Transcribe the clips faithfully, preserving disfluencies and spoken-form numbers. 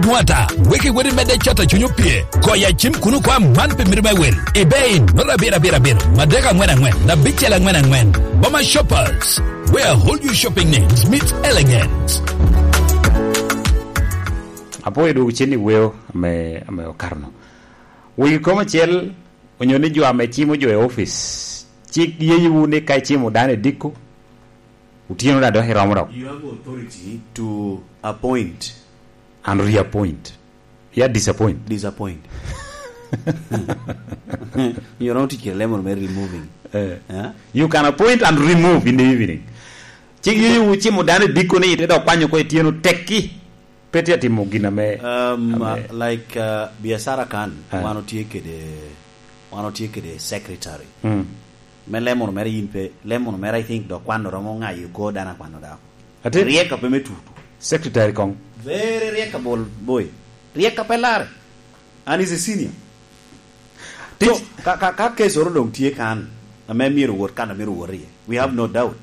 Wata, wek iwot imedde cato cuny opye. Koya cim kuno kwa man pi mito me wel. Ibein, nota abiro abiro abiro, madek angwen angwen, abicel angwen angwen. Boma Shoppers, where whole you shopping needs meets elegance. Apwoyo dwogo cen i weo ame, ame okato-nu. Wegi kom acel, onyo ni jo ame cimo jo i opic, cik yeyiwu ni ka icimo dano i diko, otyeno daŋ dok iromo dok. You have authority to appoint. And reappoint. Ya disappoint. Disappoint. You don't teach a lemon me removing. Eh. Eh? You can appoint and remove in the evening. Cik yeyiwu cimo dano i diko ni ite dok kwanyo ko ityeno tekki. Pe tye atimo gin ame, um, ame, uh, like, uh, biacara kan, eh, wan otye kede, wan otye kede secretary. Mm. Me lemono mere yin pe, lemono mere I think dok kwano romo ŋayo ko dano akwano dako. Ate? Riek ape me tutu. Secretary kong. Very riek abol boy. Riek ape lar. And is a senior. So, ka, ka, ka case oro dong tye kan, ame myero wot kan, myero wot iye. We have no doubt.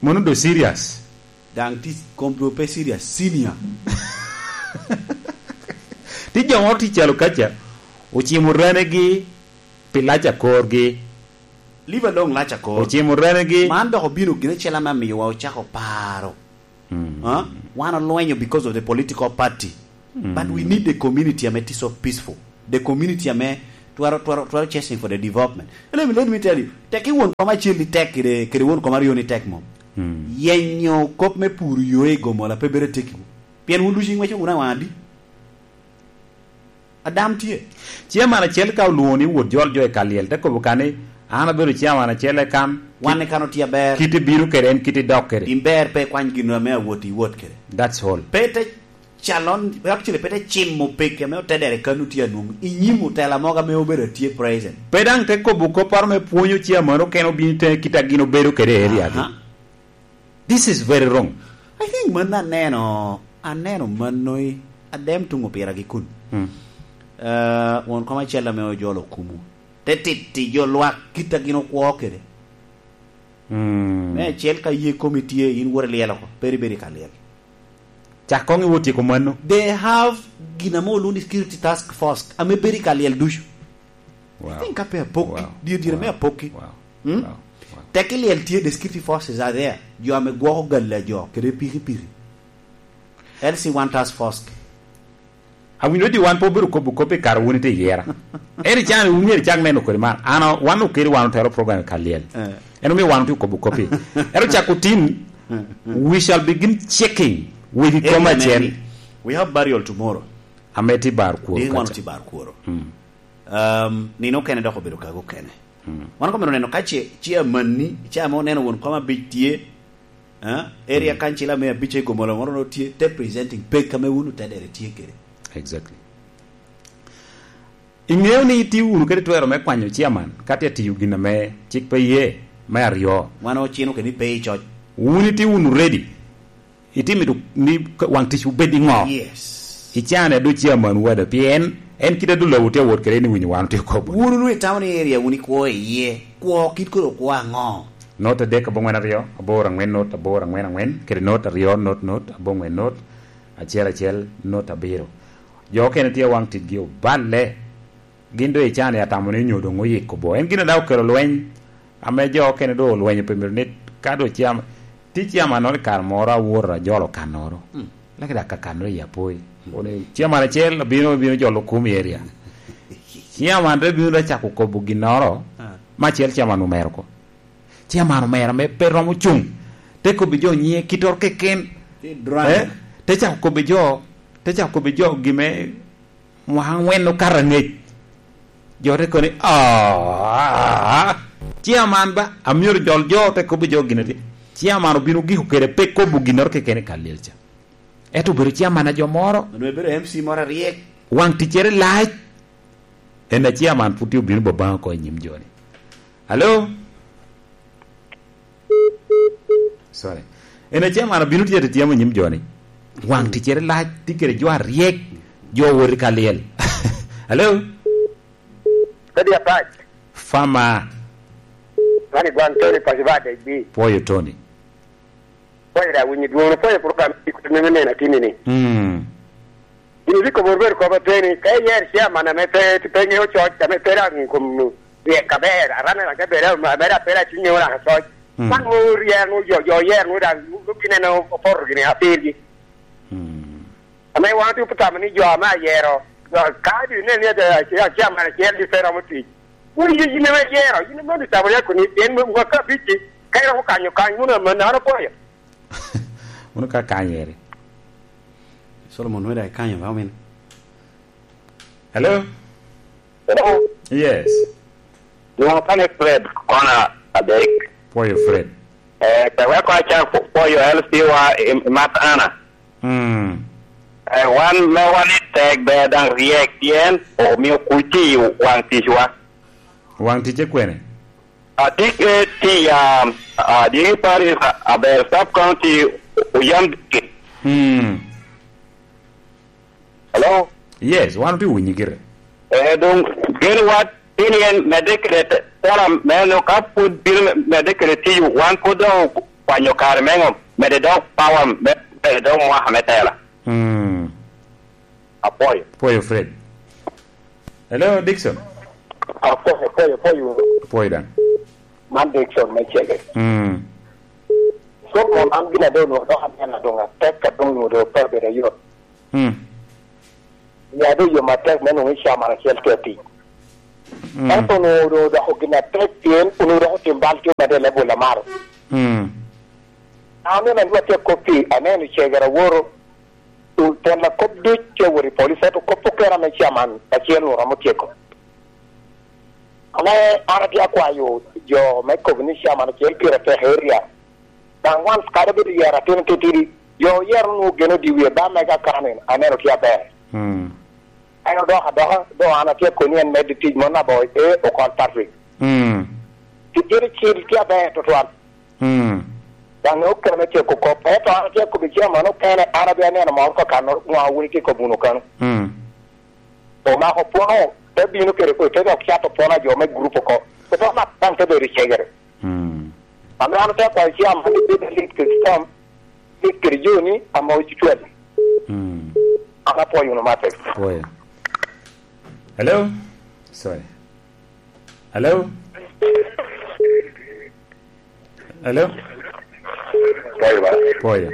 Mono do serious. Daŋ ti kom do pe serious, senior. Ti jo moro ti calo kaca, ocimo ranegi pi lac akorgi. Leave alone lac akor. Ocimo ranegi. Man dok obino gine cel ame amiyowa ocako paro. Mm. Huh? Wan olwenyo because of the political party. But we need the community ame ti so peaceful. The community ame twero, twero, twero chasing for the development. Let me, let me tell you, tek i won kom acel ni tek kede, kede won kom aryo ni tek mom. Mm. Yenyo kop me puro yo i Gomola pe bedo atekki. Pien wun ducu ing'weco wunu awaŋ adi? Adam tye. Chairman acel ka olwoŋo ni wot jol jo i kal lyel, te kobo kan ni, "An abedo chairman acel e kan." Wan i kan otye aber. Kit ibino kede en, kit idok kede. In ber pe ikwany gin ame awot iwot kede. That's all. Pe te calon, actually, pe te cimo peke ame otedere kan otye anwoŋo. I nyim otela mogo ame obedo atye present. Pe daŋ te kobo kopporo me pwonyo chairman okene obino i teŋe kit a gin obedo kede i area gi. Aha. This is very wrong. I think mano aneno, aneno mano i adem tuŋ opira gi kun. Mm. Eh, won kom acel ame ojolo kumu. Te titi jo lwak kit a gin okwo kede. Mm. Me acel ka ye komi tye, in wot ilyel oko, pe ibedo i ka lyel. Cak koŋ iwot tyeko mano. They have gin ame olwoŋo ni security task force, ame bedo i ka lyel ducu. Wow. I think ka pe apokki, wow, dyere dyere me apokki. Wow. Hmm? Wow. Wow. Tek i lyel tye, the security forces are there. Jo ame gwoko gal a jo, kede pikipiki. L C one task force. Awinyo di wan pe obedo kobo kop i kare wun ite yera. Eri can, wun myero cak neno kodi man. Ano, wan okedi wan otero program i ka lyel. Eh. En omio wan otye kobo kop i. Ero cako tin, we shall begin checking wegi kom acel. We have burial tomorrow. Ame ti bar kworo. Din wan kaca. Ti bar kworo. Mm. Um, nino okene dok obedo kago okene. Mm. Wan kono neno ka ce, ce amanni, ce ame oneno won kom abic tye, eh? Area council ame abic e Gomola moro no tye, te presenting pek ame wun otedere tye kede. Exactly. Iŋeo ni itye wunu kede twero me kwanyo chairman, ka tye tiyo gin ame cik pe ye, me aryo. Wan ocino kede ni pe icoc. Wun itye wunu ready. Itimo ni waŋ tic obed i ŋo? Yes. Icane adu chairman wada, pien en kit adu lobo tye awot kede ni winyo wan otye kobo. Wun onwoŋo itamo ni area wun ikwo iye. Kwo kit kodi okwo aŋo? Not adek aboŋwen aryo, aboro aŋwen not, aboro aŋwen aŋwen, kede not aryo, not, not, aboŋwen not, acel acel, not abiro. Jo okene tye waŋ ticgi oballe. Gin doŋ icani atamo ni onyo doŋ oyiko bo. En gin daŋ okelo lweny, ame jo okene doŋ olwenyo pe myero ni ka doŋ ciam-, ti ciamanoro i kare moro awoto ajolo kannoro. Mm. Laki dak ka kannoro i Apoi. Mm. Koni ciaman acel obino, obino jolo kum i area. Ciaman te bino te cako kobo ginnoro, ah, ma acel ciaman omero ko. Ciaman omero ame pe romo cuŋ. Te kobbi jo nyiŋe kittoro keken. Ti drunk. Eh? Te cako kobbi jo, te cako kobbi jo gime mwaka aŋwen okato aŋec. Jo te koni, "Ah, ah, ah, ah. Ciaman ba, amyero jol jo," te kobbi jo gin ati. Ciaman obino giko kede pe kobo ginnoro keken i kal lyel ca. Ento obedo ciaman a jo moro. Onwoŋo ebedo M C moro aryek. Waŋ ticcere lac. En a ciaman pwod tye obino babaŋ oko i nyim joni. Alo? Sorry. En a ciaman obino tye atyemo i nyim joni. Waŋ ticcere lac, tye kede jo aryek, jo wot i ka lyel. Alo? Kodi apac. Fama. Mani gwan Tony Pacific D B. Pwoyo Tony. Pwoyo da winyo dwono, pwoyo program i kuto neno neno atini ni. Mm. Ibikobo rubet kop ateni, ka iyer chairman ame pe, pe ŋeo coc, ame pe daŋ i kom ryek aber, aran daŋ te bed ame daŋ pe daŋ tye ŋeo daŋ coc. Mm. Man ŋo ryek nu jo, jo oyer nu daŋ, nu gineno opoto gini apirgi. Mm. Ame wan otye otamo ni jo ame ayero, jo ka di ne ni ate, ace-, ace aman acel di pe romo tic. Wun ye yin ame ayero, yin ame otamo ryeko ni, pien mwaka abic-ci, ka iromo kanyo kany, wun ame nano poyo. Wun ka kanyeri. Solomon weda ikanyo ba omin. Hello? Hello? Yes. Lwoŋo kane Fred, kona adek. Pwoyo Fred. Eh, pe wek aca pwoyo L C wa i, i mat Ana. Mm. Eh, wan me wan i tek ber daŋ ryek pien omio kuc i waŋ ticwa. Waŋ ticce kwene? Atye ke ti, um, uh, Diki Parish, uh, aber sub county Oyam District. Mm. Hello? Yes, wan otye winyi gire. Eh, doŋ gen wat tin yen medde kede te-, tela meno ka pwod bino me-, medde kede tiyo, wan pwod doŋ okwanyo kare me ŋo, medde dok power me, medde dok mwaka me tela. Mm. Apwoyo. Pwoyo Fred. Hello, Dickson. Apwoyo, apwoyo, apwoyo. Apwoyo daŋ. Man Dickson me Cege. Mm. Solomon, an gin a doŋ onwoŋo dok aneno doŋ atek a doŋ onwoŋo doŋ pe obedo ayot. Mm. Ya doŋ yom atek me nwoŋo i caman acel tye atic. Mm. Ento onwoŋo doŋ odoko gin atek pien onwoŋo dok otim bal tye medde i level amaro. Mm. An aneno a lwak tye akop pi, aneno Cege awoto. Tela kop duc tye awot i police, ento kop okene ame caman acel-nu romo tyeko. Ame an atye akwayo jo me kobo ni caman acel pire tek area. Daŋ wan kadi obedo yero atin titidi, jo oyero onwoŋo geno di wie ba mega kanin, aneno tye aber. Mm. En odoko adoka, doŋ an atye akoni en medde tic mon aboŋo, ee, Okol Patrick. Mm. Tic gire cil tye aber tutwal. Mm. Daŋ okene me tyeko kop. Ento an atye akobbi caman okene, an abino aneno moro ka kan ŋo wun itye kobbi wunu kano. Mm. Omako pwono, te bino kede kodi, te dok cato pwono a jo me gurup oko. Kop amat daŋ te bedo i cegere. Mm. Ame an te kwayo caman ni bed alit kede com, lit kede joni ame ocucwal. Mm. An apwoyo wunu matek. Pwoyo. Hello? Sorry. Hello? Hello? Pwoyo ba? Pwoyo.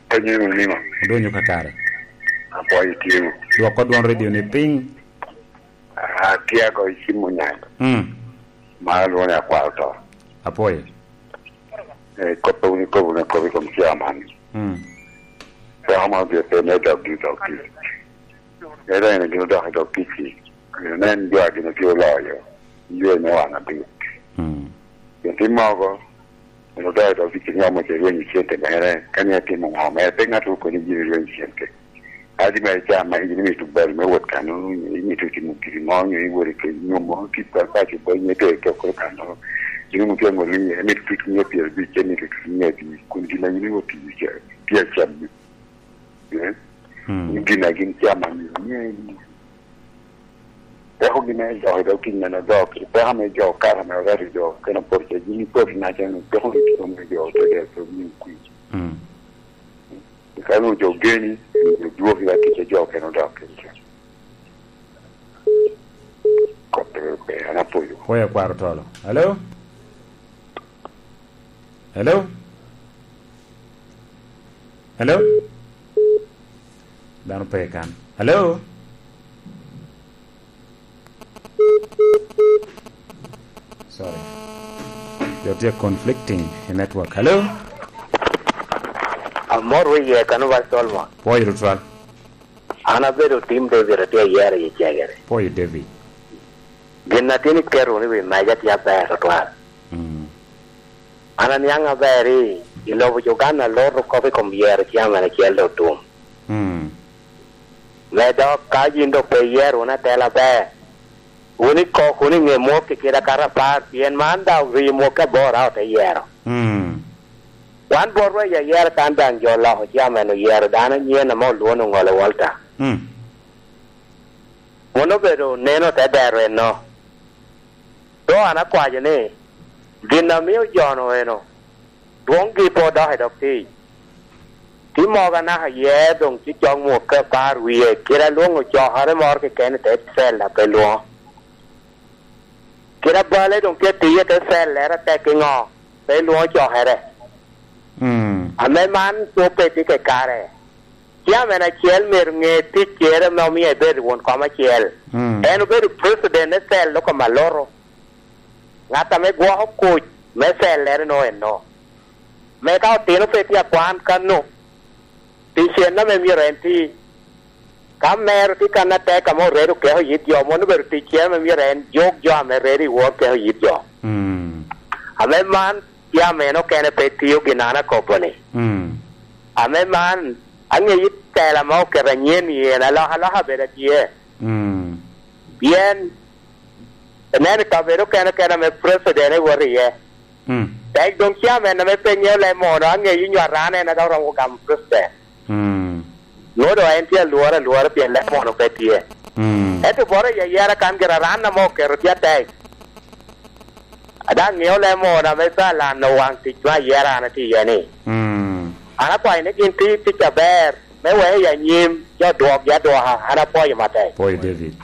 Penyo ni niŋo? Odonyo kakare. Apwoyo tyeŋo. Dwoko dwon radio ni piny. Ah, tye agoyo cim onyaŋ. Mm. Ma lwongo ni akwaro to. Apwoyo. Eh, kop a wun ikobo wunu akoba i kom chairman. Mm. Dako ma obino pe me dog i dog tic. Ento en gin odok i dog tic-ci. Nen jo a gin otye oloyo. Ywe me wan abiro. Mm. Gin tim mogo, en odok i dog tic, nyomo ce rwenyo cente mere. Ka ni atimo ŋo mere, pe ŋat okoni gin rwenyo cente. Adi mere ca ma in imito bal me wot kano, imito timo giri mo, nyo iwot i kec nyomo, kit bal paco ba inyo te tok kano. Ino mutye aŋolo ni, imito tutu mia pyerabic, imito tutu mia abic, kun gin a in iwot tiyo ca, tye acammi. Eh? Mm. Gin a gin cam a mio, mio en. Peko gin me jo, dok gin mene dok, peko me jo, kara me oreto jo, kena pol ca, gin ipot i naca ni, peko ni kito me jo, te der, pe mio kwi. Mm. Ka nwoŋo jo geni, nwoŋo dwoki ka tic a jo kene odok kede ca. Kop pe ber, an apwoyo. Pwoyo akwaro tolo. Hello? Hello? Hello? Dano pe i kan. Hello? Sorry. Jo tye conflicting i network. Hello? Amor wi ye kano ba Solomon. Pwoyo tutwal. An abedo Tim David, atye ayero i Cegere. Pwoyo David. Gin a tin iketo wunu i wi meja tye aber tutwal. Mm. An aniaŋ aber i, i lobo Uganda lot okop i kom yero ciaman acel dok tum. Mm. Me dok ka yin dok pe iyero wunu atela aber, wun ikok wunu i ŋe mwok i kite akato apar, pien man daŋ rii mwok aboro a ote yero. Mm. Wan botwa i ayera kan daŋ jo oloko ciaman oyero dano anyen ame olwoŋo ni Oŋole Walter. Mm. Mano obedo neno te dero eno. Doŋ an akwaco ni, gin a mio jo-nu eno, dwoŋgi pe odok i dog tic. Tye mogo anaka iye, doŋ tye cok mut ka par wie, kite alwoŋo cokere moro keken i te cel a pe lwoŋo. Kite abale doŋ tye tiyo i te cel, lere tek i ŋo, pe lwoŋo cokere. Mm. Ame man pe tye kakare. Ciamen acel myero ŋe ticcere ame omio ebedo won kom acel. Mm. En obedo president me cel loko maloto. Ŋat ame gwoko kuc me cellere no eno. Me ka otino pe tye akwan kano, ticen ame myero en ti. Ka mero tye kan atek ame oredo keko yit jo, mono obedo ticcere ame myero en juk jo ame redo i wor keko yit jo. Mm. Ame man, tye ame en okene pe tio gin an akobo-ni. Mm. Ame man, aŋeyo tela ma oketo anyen i en, alokaloka bed atye. Mm. Pien ineno i kabedo kene kene ame president ewot iye. Mm. Tek doŋ chairman ame pe ŋeo leb mono, aŋeyo nyo aran en a dok romo gamo president. Mm. Nwoŋo doŋ en tye alworo alwora pien leb mono pe tye. Mm. Ento bot ayayara kan gira aran ame oketo tye atek. A daŋ ŋeo leb mono ame pe alano waŋ tic me ayera an atye iye ni. Mm. An akwayo ni gin ti tic aber. Me wek i anyim, jo dwokgi adwoka, an apwoyo matek. Pwoyo David.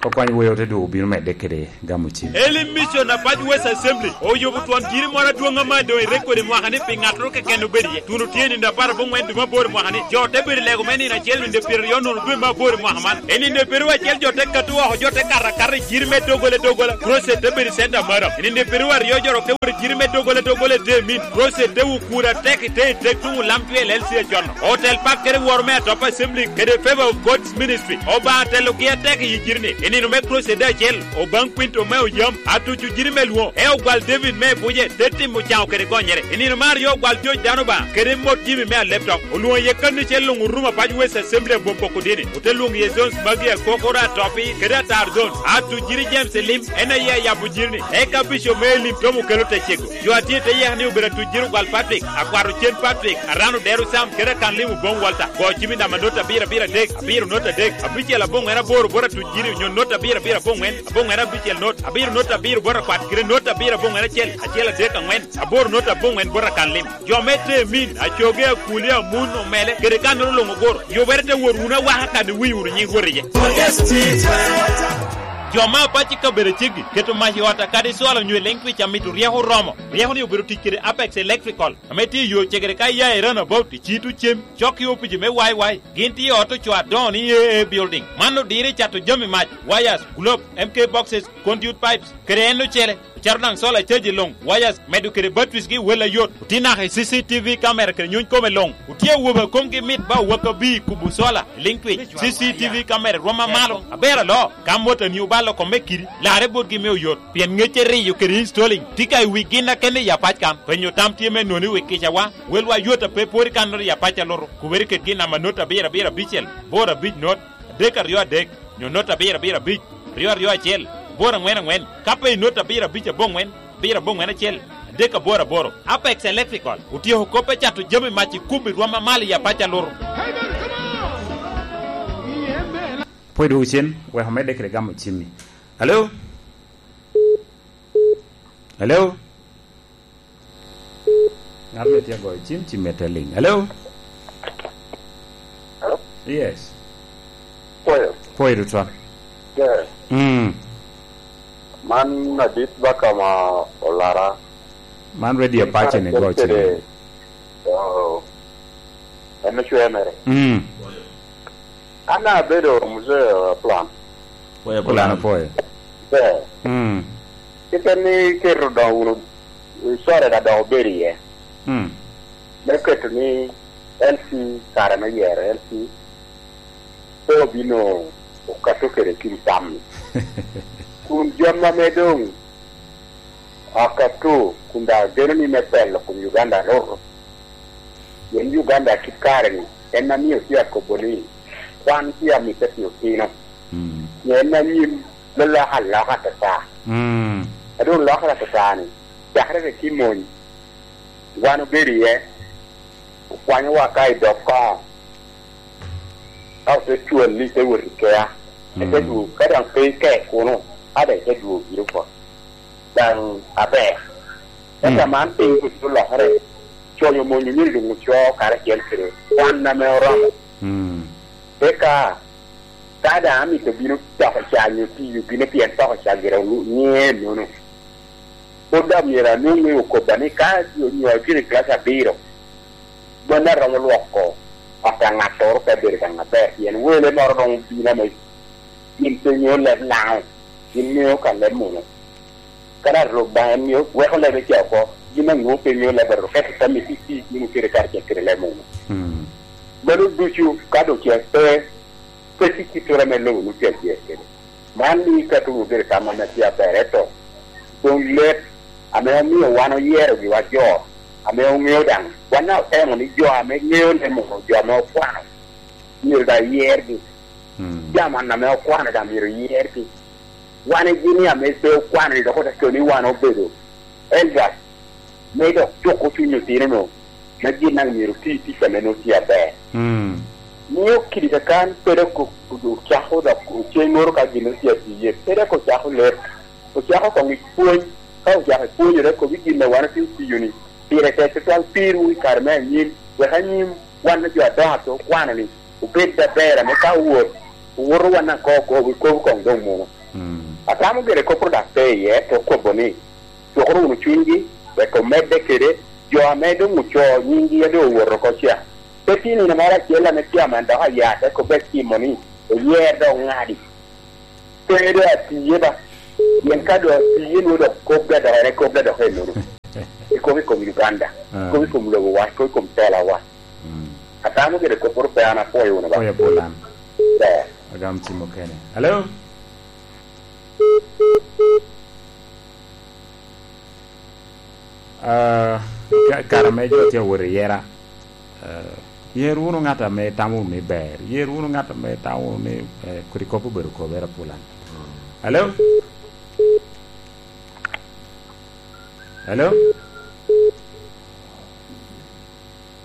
Okwany weo te dwogo bino medde kede gamo cim. Elim Mission Apac West Assembly oyubo twon jiri moro adwoŋ ame doŋ i rekodi mwaka ni pi ŋattoro keken obedo iye. Tuno tye i nino apar aboŋwen dwe me aboro mwaka ni. Jo te bedo i lego me nino acel nino pyeraryo nono dwe me aboro mwaka man. I nino pyeraryo acel jo te kato oko, jo te kato akata i jiri me doggola doggola. Crusade te bedo i center maro. I nino pyeraryo aryo jo dok te wot i jiri me doggola doggola i te min. Crusade te wukura tek i te i tek tuŋ olam cwel L C A John. Otel pak kede woro me atop Assembly kede Favor of God's Ministry. Obaŋa telogi atek i jiri-ni. I nino me Crusade acel, Obaŋ Quinto me Oyam, atuco jiri me lwoŋo, e ogwal David me Ebuje, te timo caŋo kede gonyere. I nino me aryo ogwal George Dano Obaŋa, kede mot Jimmy me Aleptok. Olwoŋo iye kanicel luŋ orumo apac West Assembly abwom poko dini. Ote lwoŋo iye zones magi akokoro atopi, kede atar zones. Atuc jiri James Elim, en aye ayabo jiri-ni. Eka Bishop me Elim Tom Okello te cego. Jo a tye i te yeka ni obedo atuc jiri ogwal Patrick, akwat ocen Patrick, aran odero Sam, kede akan lim oboŋ Walter. Go cimi namba not abiro abiro adek, abiro not adek, abicel aboŋ en aboro bot atuc jiri, onyo not abiro abiro aboŋwen, aboŋwen abicel not, abiro not abiro bot akwat, kede not abiro aboŋwen acel, acel adek aŋwen, aboro not aboŋwen bot akan lim. Jo me Temin, Acoge, Akuli, Amun, Omele, kede kannoro luŋ ogoro. Yubere te wot wunu awaka kan iwinyo wunu nyiŋ Rwot iye. Jo me apac i kabedo ceggi, keto mac i ot akadi cwalo onyo i liŋ twic amito ryeko oromo. Ryeko ni obedo tic kede Apex Electrical, ame tye i yo cegere ka iya i Runabout, i Cito Cem, cok i opici me Y Y. Gin tye i ot ocoo adoŋo ni A A Building. Man odiro i cato jami mac, wires, globe, M K boxes, conduit pipes, kede en ocele. Ocato daŋ solar charge luŋ, wires, medo kede batteries gi wel ayot. Otye naka i C C T V camera kede nyuny kome luŋ. Otye awobe a komgi mit ba owak abir kubo solar, liŋ twic, C C T V camera rwom amalo. Aber aloo, ka motani obalo kome kidi, larre botgi me oyot. Pien ŋecce riyo kede installing tye ka i wi gin akene i apac kan. Penyo tam tye me noni wi kicawa, welwa yot a pe pwod i kannoro i apac alutu. Kubere kedgi namba not abiro abiro abicel, boro abic not, adek aryo adek, nyo not abiro abiro abic, ryo aryo acel, boro aŋwen aŋwen, ka pe i not abiro abic aboŋwen, abiro aboŋwen acel, adek aboro aboro. Apex Electrical otyeko kop me cato jami mac i kubo i rwom amalo i apac alutu. Pwod dwogo cen, wek omedde kede gamo cimmi. Hello? Hello? Ŋat me tye goyo cim, cim me te liŋ. Hello? Hello? Yes. Pwoyo. Pwoyo tutwal. Yeah. Mm. Man adit baka ma olara. Man radio Apache ni goyo cim. Oh. En ocwe mere. Mm. An abedo muzee plan. Pwoyo plan, pwoyo. Ber. Mm. Kite ni keto dong wunu, core da dok obedo iye. Mm. Me keto ni L C kare me yero L C pe obino okato kede kin tam-mi. Kun jami ame doŋ akato kun daŋ ageno ni me pelo kun Uganda luto. Pien Uganda kit kare-ni en amio tye akobo ni kwan tye amitte pi otino. Mm. Pien en anyim me loko aloka atata. Mm. A doŋ lokere atata-ni, cakere rik i mony, wan obedo iye, okwanyowa ka i dog koŋo, ka ote cwal ni ite wot i kea, ite Mm. dwogo, ka daŋ pe ike kuno, a daŋ ite dwogo giri oko. Daŋ aber. Ento Mm. man piny kuc olokere, Coc omony omyero doŋ ocoo karacel kede kwan ame oromo. Mm. Eka, ka daŋ amito bino toko ca nyo tiyo bino pien toko ca gire olu-, nyiŋe ennono, pwod daŋ myero anwoŋ ni okobba ni ka onyo atye i kilac abiro, mano aromo lwoko ot a ŋattoro ka bedo daŋ aber, pien wele moro doŋ obino ame gin pe ŋeo leb Laŋo, gin ŋeo ka leb munu. Ka daŋ Rwot Obaŋa en mio weko lebe ca oko, gin aŋo pe ŋeo lebe Rwot, ento tammi tye tic wunu kede karacel kede leb munu. Mm. Mano ducu ka doŋ ce pe, pe tye kittere ame lobo nwoŋo tye ajer kede. Man ni ka tuŋ obedo tam ame tye aber, ento doŋ leb ame omio wan oyero giwa jo ame oŋeo daŋ, wan daŋ otemo ni jo ame ŋeo leb munu, jo ame okwano, myero daŋ yergi. Mm. Jami ame okwano daŋ myero yergi. Wan ejini ame pe okwano ni dok ote koni wan obedo elders, me dok cuko cuny otino-nu, ma gin daŋ myero oti tic ame nwoŋo tye aber. Mm. Mio kidi kakan pe dok o-, o-, ocako dok oceŋŋoro ka gin otye atiye, pe dok ocako leb, ocako koŋ i pwony, ka ocako ipwonyere kop i gin a wan otye otiyo-ni, pire tek tutwal pirwu i kare me anyim, wek anyim wan jo adoŋo a pe okwano-ni obed aber, ame ka owot, owoto wan daŋ koŋ okobo, ikobo koŋ doŋ munu. Mm. Atamo gire kop-ru dok pe iye, te okobo ni, cukuru wunu cunygi, wek omedde kede jo ame doŋ ocoo nyiŋgi a doŋ owoto oko ca. Pe tye nino moro acel ame tye aman dok aya te kobbe timo ni, oyer dok ŋadi. Pe doŋ atiye ba. Pien ka doŋ atiye, nwoŋo dok kop ga dok en, kop ga dok ennono. Ikobo i kom Uganda, ah, ikobo i kom lobowa, ikobo i kom telawa. Mm. Atamo gire kopporo pe an apwoyo wunu ba. Apwoyo Apolan. Ber. Agam cim okene. Hello? Ah, ka-, kare ame jo tye awot i yera, eh, yer wunu ŋat ame itamo wunu ni ber. Yer wunu ŋat ame itamo wunu ni, eh, kodi kop obedo kobere Apolan. Hello? Hello?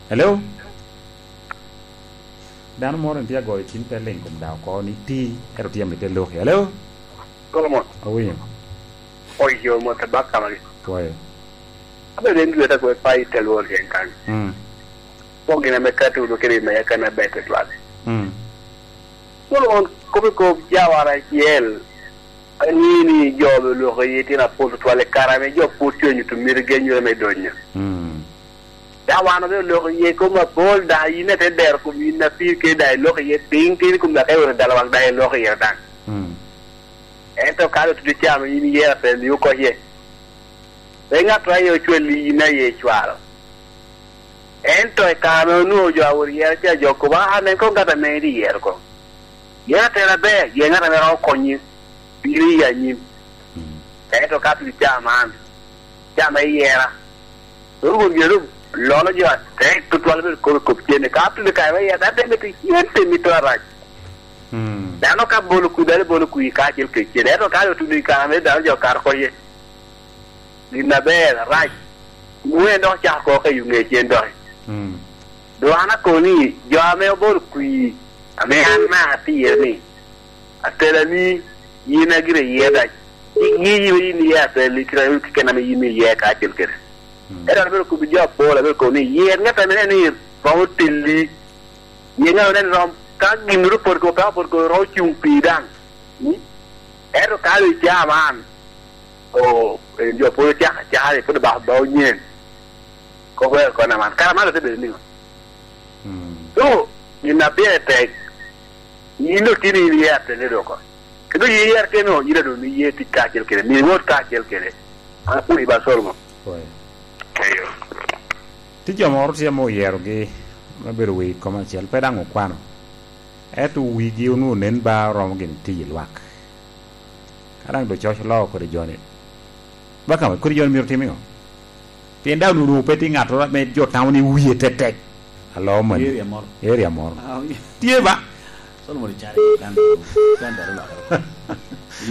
Hello? Dano moro tye agoyo cim te ling kom daŋ oko ni ti, ento tye amite loki. Hello? Solomon. Awinyo. Oyo, mot abaka magi. Pwoyo. Abedo en dweta kwe pa i te lworo tyen kan. Mm. Pok gin ame kati wunu kede i meya kan aber tutwal. Mm. Solomon, kop i kop jawara acel, angeyo ni jo be oloko iye tyen apol tutwal i kare ame jo pwod tye onyuto miti genyere me donyo. Mm. Daŋ wan obedo oloko iye kom apol, daŋ yin ate dero kom yin apir kede daŋ iloko iye piny, tin kom daŋ ka iwero dalo wak daŋ iloko iye daŋ. Mm. Ento ka doŋ tuti camo yin iye apel ni oko iye. Pe ŋat aye ocwalli yin aye icwalo. Ento i kare ame onwoŋo jo a wot yero ca, jo okobo, "Aa, nen koŋ ŋat ame en iyero koŋ. Yen atela aber, yen ŋat ame romo konyi bino i anyim." Mm. Ento ka piri ca man, ca me yera, dok Rwot myero lolo jo atek tutwal bedo kop i kop cen. Ka piri kare me yera, dano te mito cen, te mito arac. Mm. Dano ka bolo kwi, dano bolo kwi kacel kede cen. Ento ka otuno i kare ame dano jo kato oko iye, gin aber, arac, nwoŋo en dok ocako koko ka i ŋe cen doki. Mm. Doŋ an akobo ni, jo ame obolo kwi, ame an daŋ atye iye ni, atelani, yin a gire iye dac, iŋeyi iwe yin iye atelani, kite ame keken ame yin iye kacel kede. Mm. Ento an abedo kobbi jo apol, abedo kobo ni, yer ŋat ame neno ni romo telli, yer ŋat ame neno ni rom, ka ginnoro opot kede, pe opot kede, romo cuŋ pi daŋ. Mm? Ento ka doŋ icaa man, o, en jo pwod ocako acakere, pwod obako bao nyen. Kop wer kona man. Kara man ote bedo niŋo? Mm. So, gin a pire tek, yin doŋ tin in iye ateni doko. Kendo yin iye ateni, yin a doŋ iye tic kacel kede, mi iwot kacel kede. An apwoyi ba Solomon. Pwoyo. Eyo. Tye jo moro tye ame oyerogi me bedo wi kom acel, pe daŋ okwano. Ento wigi onwoŋo nen ba oromo gini tiyo i lwak. Ka daŋ doŋ coc oloo kodi joni, ba kama kodi joni myero tim iŋo? Pien daŋ onwoŋo pe tye ŋattoro ame jo tamo ni wie tetek. Aloo mani. Area moro. Area moro. Ah, wi- Tye ba? Solomon Icari, kan, kan daro lwak.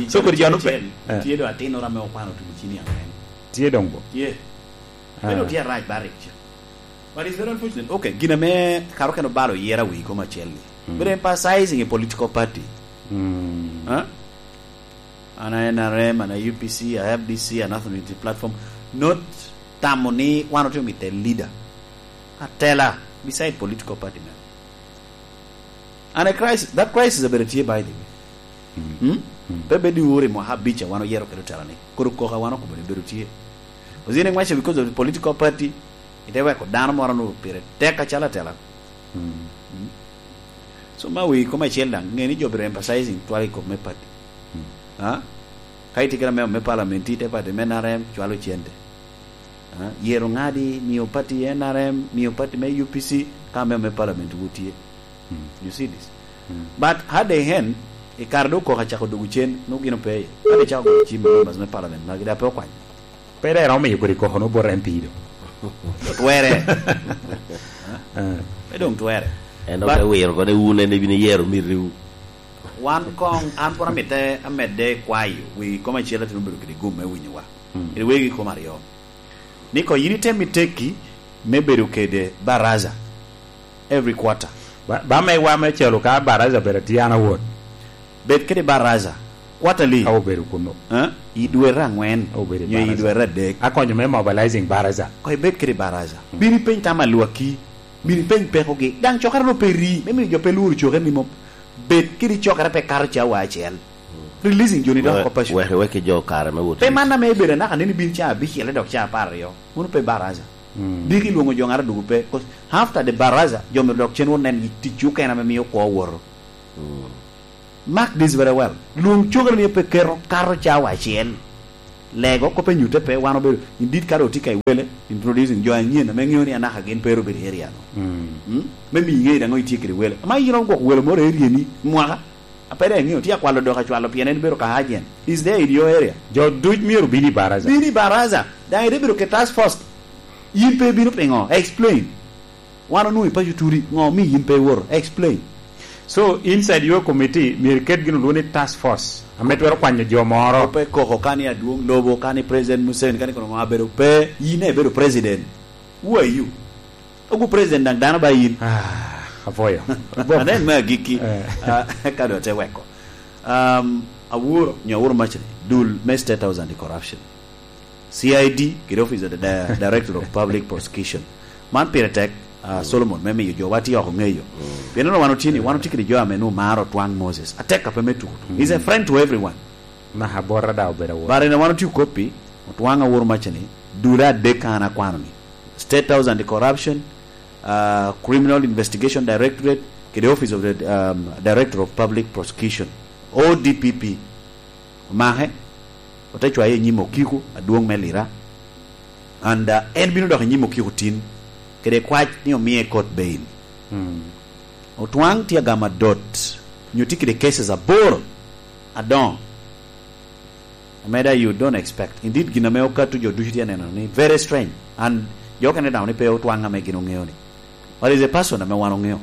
So kodi joni pe- Acel, eh. Tye doŋ atinnoro ame okwano tugo cini angwen. Tye doŋ bo? Tye. Ah. Meno tye arac ba rik. But it's very unfortunate. Okay, gin ame kara okene obalo yera wi kom acel ni. Mm. Bedo emphasizing a political party. Mm. Huh? An a N R M, an a U P C, a F D C, a National Unity Platform. Not tamo ni wan otye mito leader. Atela beside political party man. And a crisis, that crisis abedo tye by the way. Hmm? Pe bed ni uri mwaka abic a wan oyero kede otela ni. Koro koko a wan okobo ni bedo tye. Ozine ngwaco because of the political party, ite weko dano moro nu pire tek acalo atela. Hmm? So ma wi koma acel daŋ, nge ni jo biro emphasizing twal i kop me party. Ha? Ka itye kede amemo me parliament, ite party me N R M, cwalo cente. Ha? Yero ngadi, miyo party N R M, miyo party me U P C, ka amemo me parliament wu tye. You see this? But had they hen, i kare do koko acako dogo cen, no gino pe. Had they chako goyo cim members me parliament, magi da pe okwany. Pe dai romo miyo kodi koko no bot M P do. Twere. Eh. Pe dong twere. En But ote wiro kone wun en ibino yero miriwu. Wan kong, an pwod amite amedde kwayo, wi kom acel atino bedo kede gum me winyowa. Kede wegi kom aryo. Ni ko yin item itekki me bedo kede baraza every quarter. Ba, ba me wa me calo ka baraza bedo tye an awot. Bed kede baraza quarterly. Ka obedo kuno. Eh? I dwe angwen. Ka obedo i nyo i baraza. Dwe adek. Akonyo me mobilizing baraza. Ko ibed kede baraza. Bini peny tam alwaki. Bini peny pekogi. Daŋ cokere no pe ri. Me miyo jo pe lworo coke ni mom. Bed kede cokere pe kato cawa acel. Releasing joni dok oko paco. Wek, wek jo kare me wot. Pe man ame ibedo anaka neni bin ca abicel dok ca apar aryo. Mano pe baraza. Diki lwoŋo jo ŋato dwogo pe. 'Cause after the baraza, jo myero dok cen wot nen tic okene ame mio kwo owoto. Mark this very well. Lwoŋ cokere ni pe keto kato cawa acel. Lego kop enyutte pe, wan obedo, indeed ka dok otye ka i wele, introducing jo anyen ame ŋeo ni anaka gin pe ero bedo i area no. Mm? Me miyo iŋeyo daŋ itye kede wele. Ama in iromo gwoko wele moro i area ni, mwaka, a pe daŋ iŋeo, tye akwalo dok acwalo pien en bedo ka agent. Is there in your area? Jo duc myero bino i baraza. Bino i baraza. Daŋ ite bedo ke task force. In pe ibino piŋo? Explain. Wan onwoŋo i paco turi, ŋo omiyo in pe iwoto? Explain. So, inside your committee, myero iket gin olwoŋo ni task force, ame twero kwanyo jo moro. Pe koko ka ni adwoŋ lobo, ka ni President Museveni, ka ni kono ŋo abedo pe, in ibedo president. Who are you? Ogu president daŋ dano ba in. Ah, apwoyo. Anen me agikki. Eh. Ah, ka dong te weko. Um, awuro, nyo awuro macni, dul me State House Anti-Corruption. C I D, kede Office of the Di-, Director of Public Prosecution. Man pire tek, ah, Solomon, me miyo jowa tye oko ŋeyo. Pien onongo wan otye ni, wan otye kede jo ame nwoŋo maro Otwaŋ Moses. Atek ape me tuko tuko. He's a friend to everyone. Naka bota daŋ obedo awot. But ene wan otye koppi, Otwaŋ awuro macni, dule adek ka an akwano ni. State House Anti-Corruption, ah, Criminal Investigation Directorate, kede Office of the, um, Director of Public Prosecution, O D P P. Omake, ote cwaye i nyim okiko adwoŋ me Lira, and, uh, en bino dok i nyim okiko tin, kede kwac ni omie court bail. Otwaŋ tye agamo adot, nyo tye kede cases aboro adoŋo, ame da you don't expect. Indeed, gin ame okato jo ducu tye aneno ni very strange, and jo okene daŋ ni pe Otwaŋ ame gin oŋeo ni. But is a person ame wan oŋeo.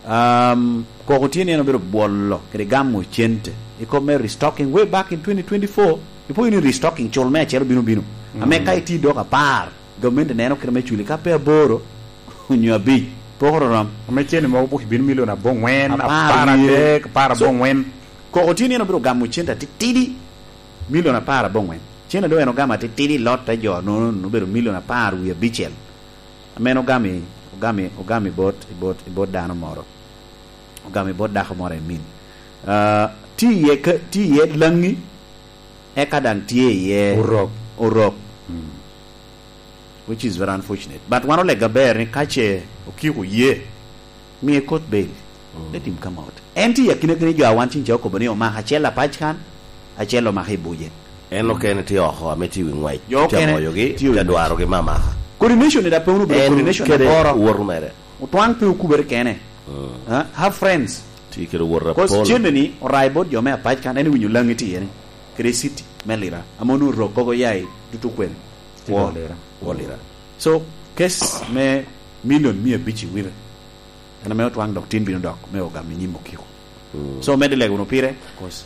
Um, koko tye ni en obedo bwolo kede gamo cente i kop me restocking way back in twenty twenty-four. Ipo ni restocking cul me acel obino bino. Ame ka iti dok apar, gamente neno kite me culi ka pe aboro onyo abic, pok ororom. Ame cene mogo buk bino milion aboŋwen, apar adek, apar aboŋwen. So, koko tye ni en obedo gamo cente atitidi, milion apar aboŋwen. Cene do en ogamo atitidi, lot te jo nono obedo milion apar wie abicel. Amen ogami, ogami, ogami bot, i bot, i bot dano moro. Ogami bot dako moro i min. Ah, tye iye ka, tye iye Laŋi, eka daŋ tye iye Orok. Orok. Which is very unfortunate. But wan olega ber ni ka ce okiko ye, miye court bail. Let him come out. En tye i akina kene jo a wan cing ca okobo ni omako acel apac kan, acel omako i buce. En okene tye oko ame tye i wi ngwec. Jo okene tye i wi ngwec. Tye dwarogi me amaka. Coordination ni da pe wun obedo coordination kede aboro. Wot mere. Otwaŋ pe okubere kene. Ah, have friends. Tye kede wot apol. 'Cause cene ni orai bot jo me apac kan, en iwinyo Laŋi tye ni. Kede city me Lira. Ame onwoŋo rok koko ya i tutu kwene. Tye wo, wo Lira. Wo Lira. So, case me million mia abic i wire. En ame Otwaŋ dok tin bino dok me ogamo i nyim okiko. So, medde lego wunu pire, 'cause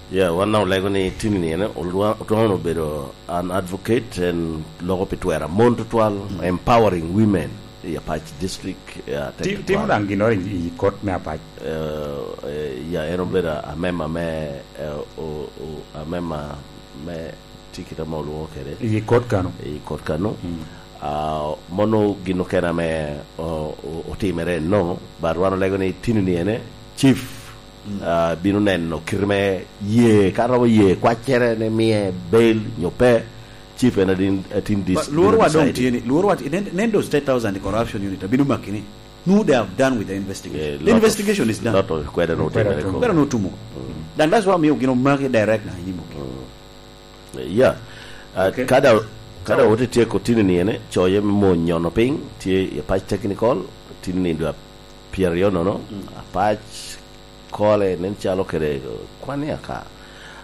yeah, wan daŋ olego ni tin ni en, Otwaŋ, Otwaŋ obedo an advocate, en loko pi twero mon tutwal, empowering women i Apac District, eh, atek tutwal. Timo daŋ ginnoro i, i kot me Apac. Eh, eh, ya, en obedo amema me, eh, o, o, amema me tikit ame olwoŋo kede. I kot kano? I kot kano. Ah, mono gin okene ame, o-, o-, otimere eno, but wan olego ni tini ni ene, chief, ah, bino neno kite me ye, ka romo ye kwaccere ni mie bail nyo pe, chief en adin, atin dis-, But lworo bino wa dong decide. Tye ni, lworo wa ti-, nen, nen do State House Anti-Corruption Unit, abino maki ni, no, they have done with the investigation. Eh, The lot of, investigation is done. Lot of kwede no otimere ko. Kwede no tumo. Mm. Then that's why miyo gin omaki direct na inyim oki. Mm. Yeah. Uh, okay. Kada, kada, so, wote tyeko tini ni ene, coye me mo nyono piny, tye i Apac Technical, tini ni dwa pyeraryo nono, mm, Apac kole nen calo kede, uh, kwan i aka.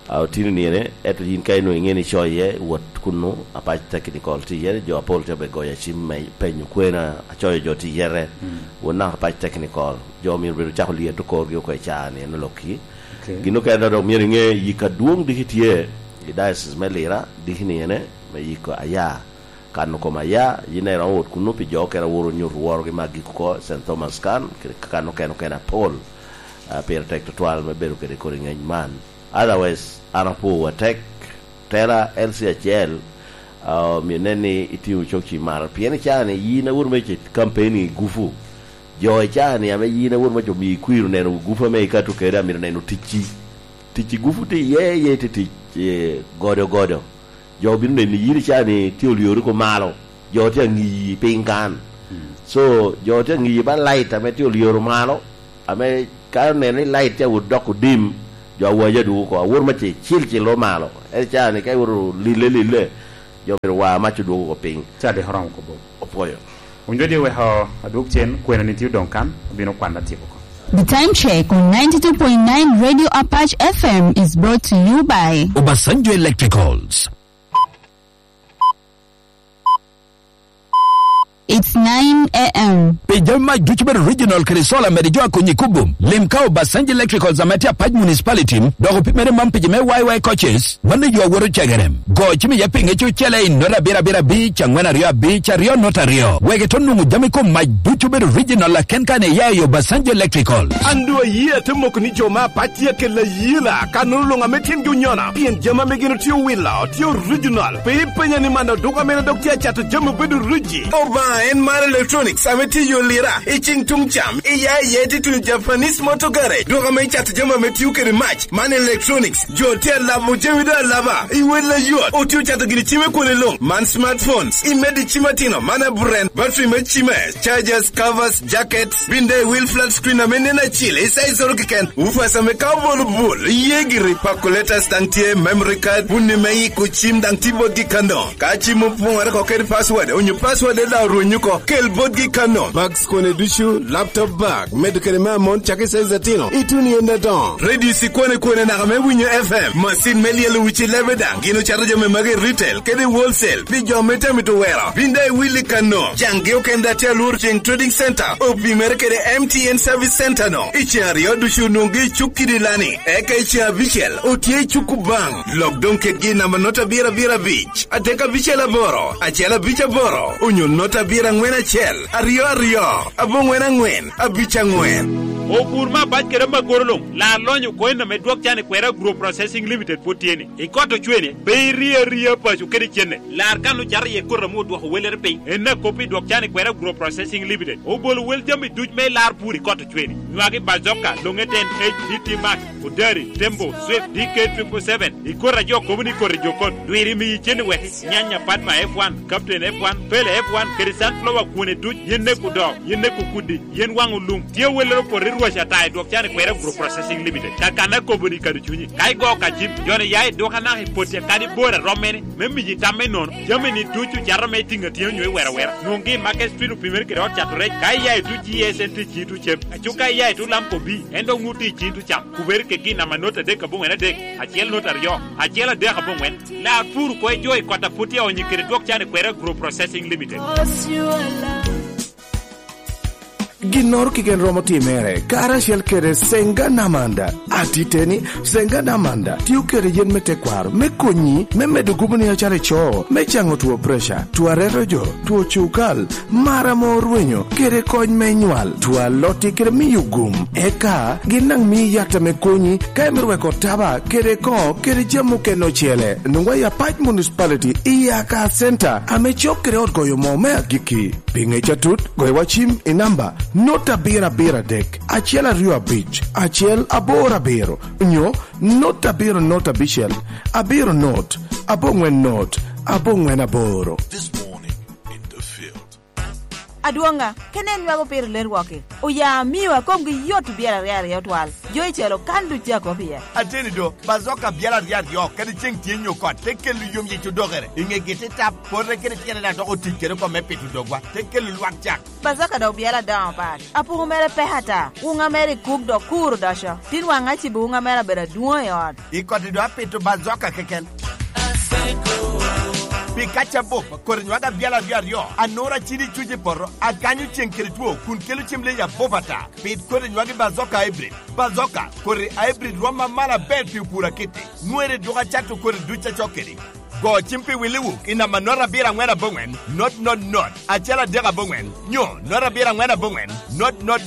Uh, tini ni ene, eto yin ka inwo ing'e ni coye, wot kunnu, Apac Technical tye iye, jo apol te be goyo acim me penyo kwena, acoyo jo tye iye, mm, wot naka Apac Technical, jo myero bedo cako lyeto korgi oko i caa ni ene lokki. Okay. Gin okene dok myero iŋe yik adwoŋ diki tye i diocese me Lira, diki ni ene me yiko aya. Kano kom aya, yin daŋ iromo wot kunnu pi jo okene awor onyuto worogi me agiko oko, Saint Thomas Kan, kede kan okene okene apol. Ah, pire tek tutwal me bedo kede kodi ŋeny man. Otherwise, an apwowa tek, tela L C acel, ah, omio nen ni itimo cok ci maro. Pien i caa ni yin awor me ce campaign i gufu. Jo i caa ni ame yin awor me co mio ikwiro neno gufu ame ikato kede, amito neno ticci. Ticci gufu tye iye, iye tye tic, eh, godo godo. Jo bino neni yin i caa ni tye olyori ko malo. Jo tye aŋiyi piny kan. Mm. So, jo tye aŋiyi ba light ame tye olyoro malo, ame ka oneno ni light tye awot dok odim, jo awaja dwogo oko. Awor me ce cil cil lo malo. En i caa ni ka iwoto lille lille, jo myero wa mac odwogo oko piny. Ca dik oromo kobo. Opwoyo. Onyo di weko adwog cen, kwena ni tye odoŋ kan, obino kwan atyeko oko. The time check on ninety-two point nine Radio Apache F M is brought to you by Obasanjo Electricals. It's nine a m. Pi jami mac ducu bedo original kede solar mede jo akonyi kubum. Lim ka Obasanjo Electricals ame tye Apac Municipality, dok opimere man pi jo me Y Y coaches, mano yo awoto cegerem. Go cim iye pinge cucele i nota abiro abiro abic, angwen aryo abic, aryo nota aryo. Wek ito nwoŋo jami kom mac ducu bedo original aken kan iya i Obasanjo Electrical. An doŋ ayie ate moko ni jo me Apac tye akelo ayela, kannono luŋ ame tyengi onyono, pien jami ame gin otye owilo tye original. Pe ipenya ni man oduka mene dok tye acato jami obedo ruji. Obaŋa en mar electronics ame tye i yo Lira, i ceng tuŋ cam, iya iye tye tuŋ Japanese Motor Garage, duka ame icato jami ame tio kede mac. Man Electronics, jo tye alabo jami doŋ alaba, i wel ayot, otye ocato gini cim i kwone luŋ. Man smartphones, i medo i cim atino, man aburen, battery me cime, chargers, covers, jackets, bin doŋ i wil flat screen ame nen acil, i size oro keken, woofers ame ka obolo bul, iye giri, calculators daŋ tye, memory card, puni me yiko cim daŋ tye botgi kano. Ka cim opoŋere oko kede password, onyo password daŋ orwenyo oko, kel botgi kano. Bags kone ducu, laptop bag, medo kede me amon cakki size atino, ituno i ende adoŋo. Radio cikwane kwane naka me winyo F M, macin me lyelo wici lebe daŋ, gin ocato jami magi i retail kede i wholesale, pi jo me tami to wero. Bin daŋ iwilli kano. Caŋgi okene daŋ tye alworo ceŋ Trading Center, opimere kede M T N Service Center no. I ceŋ aryo ducu onwoŋgi i cuk kidi lani, eka i ceŋ abicel otye i cuk Kubaŋ. Lok doŋ kedgi i namba nota abiro abiro abic, adek abicel aboro, acel abic aboro, onyo nota abiro aŋwen acel, aryo aryo, aboŋwen aŋwen, abic aŋwen. Opur me abac kede amagoro luŋ, lar lonyo coin ame dwok can i kwera Agro Processing Limited pwod tye ni. I kot ocwene, pe iri aria paco kede cene. Lar kan ocato iye koti ame odwoko welere piny. En akop i dwok can i kwera Agro Processing Limited. Obolo wel jami duc me lar pur i kot ocwene. Nywagi bazoka, longe ten H D T Max, Odari, Tembo, Swift, D K triple seven. I koti a jo kobo ni koti jo kot. Dwiri miyi cene wek nyanya, Padma F one, Captain F one, Pele F one, kede Sunflower kwone duc, yen neko dok, yen neko kudi, yen waŋo lum. Tye welere opoto i rwac ata i dwok can i kwera Agro Processing Limited. Kakana kobo ni kado cunyi. Ka igo ka cim, joni ya i dwok anaka i poti kadi bor a rom mene, me miyi tam me nono. Jami ni ducu cato me tiŋ atinga nyo i wera wera. Nwoŋgi i Market Street opimere kede ot cato rec. Ka iya i tuc G S N T ci tuc cem. Aco ka iya i tuc Lamco B, en dok ŋut i ci tuc cam. Kubere kegi i namba not adek aboŋwen adek, acel not aryo, acel adek aboŋwen. Lar pur oko i jo i kot a pwod tye aonyo kede dwok can i kwera Agro Processing Limited. Ginnoro keken romo timere karacel kede Senga Namanda. Atiteni, Senga Namanda tio kede yen me tekwaro me konyi me medo gumoni acalo ico, me caŋo two preca, two areto jo, two cukal, mar ame orwenyo, kede kony me nywal, two alotti kede miyo gum. Eka gin daŋ mii yat ame konyi ka imito weko taba kede koŋo kede jami okene ocele. Nwoŋwa i Apac Municipality i Aka Center ame cok kede ot goyo moo me agikki. Pi ŋec atut, goyo wa cim i namba not abiro abiro adek, acel aryo abic, acel aboro abiro, nyo not abiro not abicel, abiro not, aboŋwen not, aboŋwen aboro. This morning in the field. Adwoŋa, kene en nwago piro ler wok-ki. Oya amiwa komgi yot byel aryo aryo twal. Jo icelo kan duc a kop iye. Ateni do, bazoka byel aryo aryo, kadi ceŋ tye nyo kot, te kelo yom yic odokere. I ŋegi te tap, pote kede tyene na dok otic kede oko me pito dogwa, te kelo lwak cak. Bazoka dok byel adoŋo pat. Apuku mere pek ata. Wuŋa mere i kuk dok kur odoco. Tin waŋ acibo wuŋa mere abedo adwoŋ i ot. I koti do apito bazoka keken. Pi kac abup, koti nwaga byel aryo aryo, anura cidi cuc i poto, akanyo ceŋ kede two, kun kelo cem leyi abup ata. Pit koti nywagi bazoka hybrid. Bazoka, koti hybrid rwom amalo aber pi opur akitti. Nwere dwogo acato koti duc acok kedi. Go cim pi Willy Wook i namba not abiro aŋwen aboŋwen, not not not, acel adek aboŋwen, nyo not abiro aŋwen aboŋwen, not not